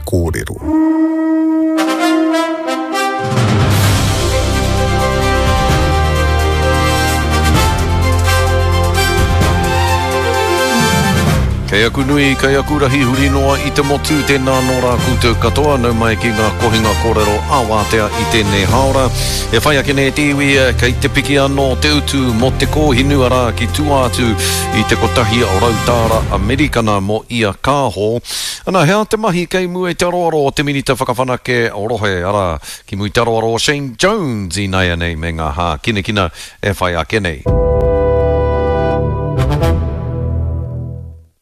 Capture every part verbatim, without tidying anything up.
Kōrero. Kei aku nui, kei aku rahi huri noa i te motu, tēnā nō rā koutou katoa, nau mai ki ngā kohinga kōrero ā-wātea i tēnei hāora. E whai ake nei te iwi, kei te piki anō te utu mō te kōhinu arā ki tua atu i te kotahi rau tāra Amerikana mō ia kāho. Ana, he aha te mahi kei mua i te aroaro o te Minita Whakawhanake Rohe, arā, ki mua i te aroaro o Shane Jones ināianei me ngā hākinakina e whai ake nei.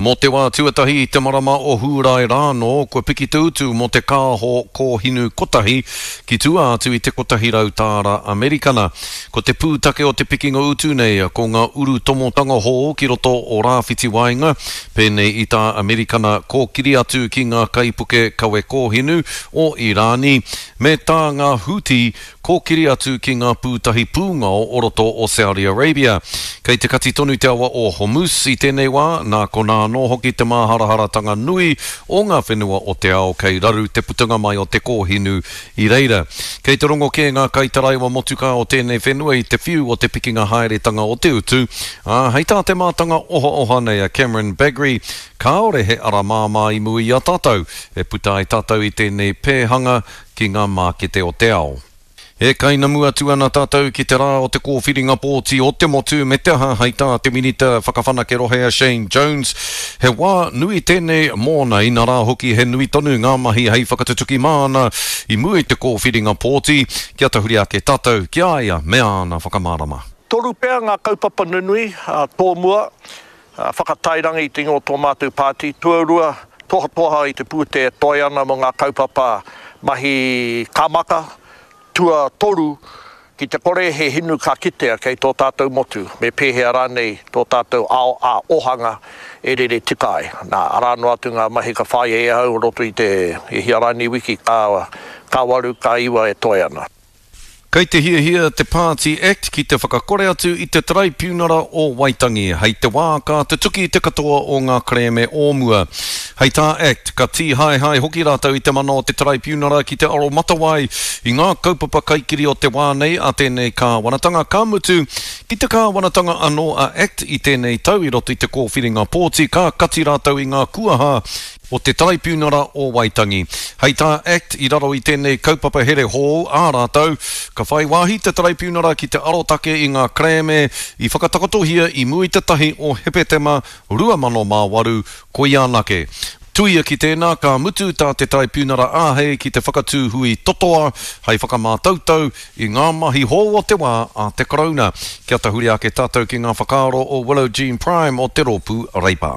Mō te wā tuatahi i te marama o Hūrae rānō, kua piki te utu mō te kāho kōhinu kotahi ki tua atu i te kotahi rau tāra Amerikana. Ko te pūtake o te pikinga utu nei ko ngā urutomotanga hou ki roto o Rāwhiti Waenga, pēnei i tā Amerikana kōkiri atu ki ngā kaipuke kawe kōhinu o Irāni, me tā ngā Houthi kōkiri atu ki ngā pūtahi pūngao o roto o Saudi Arabia. Kei te kati tonu te awa o Hormuz i tēnei wā, nā konā anō hoki te māharaharatanga nui o ngā whenua o te ao kei raru te putanga mai o te kōhinu i reira. Kei te rongo kē ngā kaitaraiwa motukā o tēnei whenua i te whiu o te pikinga haeretanga o te utu, ā, hei tā te mātanga ohaoha nei a Cameron Bagrie, kāore he ara māmā i mua i a tātou e puta ai tātou i tēnei pēhanga ki ngā mākete o te ao. E kainamu atu ana tātou ki te rā o te kōwhiringa pōti o te motu me te aha hei tā te Minita Whakawhanake Rohe a Shane Jones. He wā nui tēnei mōna, inarā hoki he nui tonu ngā mahi hei whakatutuki māna i mua i te kōwhiringa pōti, kia tahuri ake tātou ki a ia me āna whakamārama. Toru pea ngā kaupapa nunui, tōmua, whakatairanga i te ingoa o tō mātou pāti, tuarua, tohatoha i te pūtea e toe ana mō ngā kaupapa mahi kāmaka, tuatoru, ki te kore he hinu ka kitea kei tō tātou motu, me pēhea rānei tō tātou ao ā-ohanga e rere tika ai. Nā, arā noa atu ngā mahi ka whāia e ahau o roto i te e hia rānei wiki ka, ka waru, ka iwa e toe ana. Kei te hiahia te Pāti Act ki te whakakore atu i te Taraipiunara o Waitangi hei te wā ka tutuki te katoa o ngā kerēme o mua. Hei tā Act, ka tīhaehae hoki rātou i te mana o te Taraipiunara ki te aromatawai i ngā kaupapa kaikiri o te wā nei a tēnei kāwanatanga, ka mutu ki te kāwanatanga anō a Act i tēnei tau i roto i te kōwhiringa pōti, ka kati rātou i ngā kuaha o te Taraipiunara o Waitangi. Hei tā Act i raro i tēnei kaupapa here hou ā rātou, ka whai wāhi te Taraipiunara ki te arotake i ngā kerēme i whakatakotohia i mua i te tahi o Hepetema rua mano mā waru, koia anake. Tuia ki tēnā, ka mutu tā te Taraipiunara āhei ki te whakatū hui totoa hei whakamātautau i ngā mahi hou o te wā a te Karauna. Kia tahuri ake tātou ki ngā whakaaro o Willow Jean Prime o te rōpū Reipa.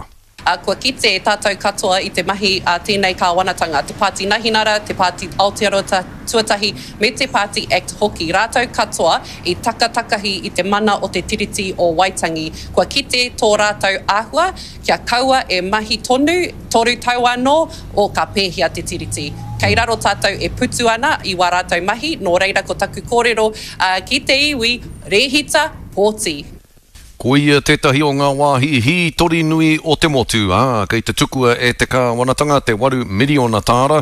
A kua kite tātou katoa i te mahi a tēnei kāwanatanga, te Pāti Nahinara, te Pāti Aotearoa Tuatahi, me te Pāti Act hoki. Rātou katoa i takatakahi i te mana o te Tiriti o Waitangi. Kua kite tō rātou āhua, kia kaua e mahi tonu, toru tau anō, o ka pēhea te Tiriti. Kei raro tātou e putu ana i wā rātou mahi, nō reira ko taku kōrero ki te iwi, rēhita, pōti. Ko ia tētahi o ngā wāhi hītori nui o te motu, ā, kei te tukua e te kāwanatanga te waru miriona tāra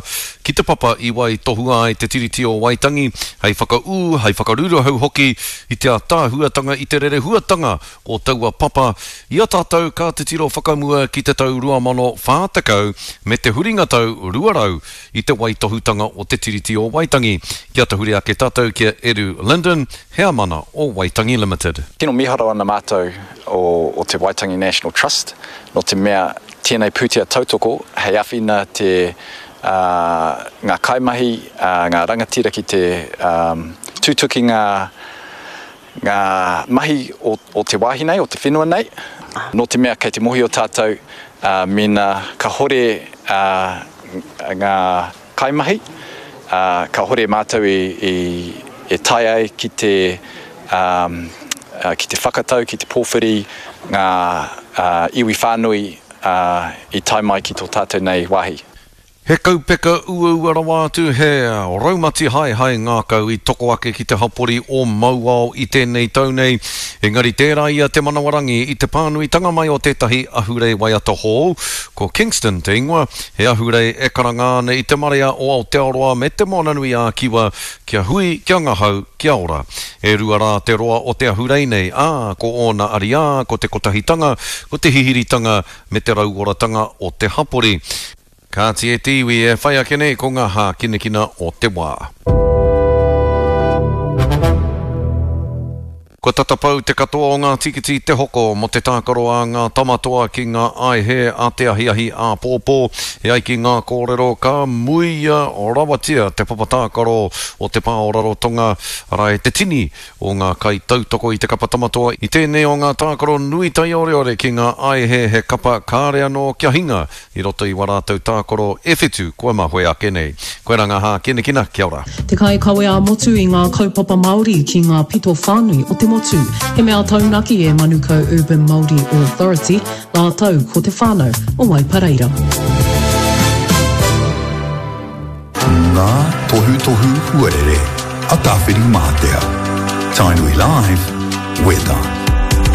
ki te papa i waitohua ai te Tiriti o Waitangi, hei whakaū, hei whakaruruhau hoki i te ātaahuatanga i te rerehuatanga o taua papa i a tātou ka titiro whakamua ki te tau rua mano whā tekau me te huringa tau rua rau i te waitohutanga o te Tiriti o Waitangi. Kia tahuri ake tātou ki a Eru Linden, heamana o Waitangi Limited. Tino miharo ana mātou o, o te Waitangi National Trust, no te mea tēnei pūtea tautoko hei awhina te uh, ngā kaimahi, uh, ngā rangatira ki te um, tutuki ngā, ngā mahi o, o te wāhi nei, o te whenua nei. No te mea kei te mohi o tātou, uh, mena ka hore uh, ngā kaimahi, uh, ka hore mātou i, i, e tae ai ki te, um, uh, ki te whakatau, ki te pōwhiri ngā uh, iwi whānui uh, i tae mai ki tō tātou nei wāhi. He kaupeka uaua rawa atu, he raumati haehae ngākau i toko ake ki te hapori o Mauao i tēnei tau nei. Engari tērā ia te manawarangi i te pānuitanga mai o tētahi ahurei waiata hou, ko Kingston te ingoa, he ahurei e karanga ana i te marea o Aotearoa me te Moananui-ā-Kiwa kia hui, kia ngahau, kia ora. E rua rā te roa o te ahurei nei, ā, ko ōna ariā, ko te kotahitanga, ko te hihiritanga me te rauoratanga o te hapori. Kāti e te iwi e whai ake nei ko ngā hākinakina o te wā. Kua tata pau te katoa o ngā tīkiti te hoko mō te tākaro a ngā tamatoa ki ngā aihe a te ahiahi āpōpō. E ai ki ngā kōrero ka muia rawatia te papa tākaro o te pā o Rarotonga, arā e te tini o ngā kaitautoko i te kapa tamatoa i tēnei o ngā tākaro nui taioreore ki ngā aihe he kapa kāre anō kia hinga i roto i wā rātou tākaro e whitu kua mahue ake nei. Koirā ngā hākinakina, kia ora. Te kaikawe ā-motu i ngā kaupapa Māori ki ngā pito whānui o te motu. He mea taunaki e Manukau Urban Māori Authority, rātou ko te whānau o Waipareira. Ngā tohutohu huarere a Tāwhirimātea. Tainui Live, Weather.